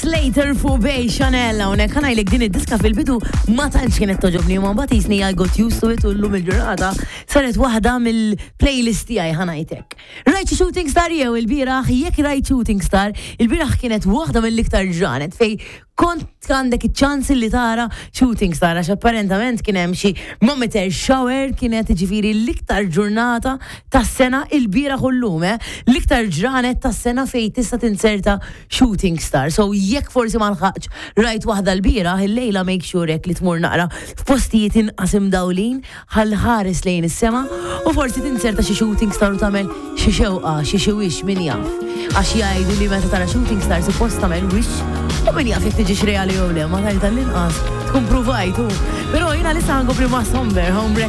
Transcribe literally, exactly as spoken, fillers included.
Slater fuq Bay Chanel. Hawnhekk ħa ngħidlek, din id-diska fil-bidu ma tantx kienet togħġobni, ma mbagħad jisni I got used to it u llum il-ġurnata saret waħda mill-playlist tiegħi, ħa ngħidlek. Rajt xi shooting star jew il-bieraħ? Jekk rajt shooting star, il-bieraħ kienet waħda mill-iktar ġranet fej kont għandek iċ-ċans li tara shooting star, għax apparentament kien hemm xi meteor shower. Kienet ġifieri l-iktar ġurnata tas-sena il-bieraħ u llum, eh? L-iktar ġranet tas-sena fej tista' tinserta shooting star. So jekk forsi ma lħaqx rajt waħda l-bieraħ, il-lejla make sure hekk li tmur naqra f'postijiet inqas imdawlin ħalli ħares lejn is-sema u forsi tinserta xi shooting star u tagħmel xi xewqa, xi xi wish, min jaf. Għax jgħidu li meta tara shooting star suppost tagħmel wish u min jaf jekk tiġix reali jew le, ma tajt tal-inqas tkun provajtu. Però jiena lissa ħa nkompli ma' Somber Home.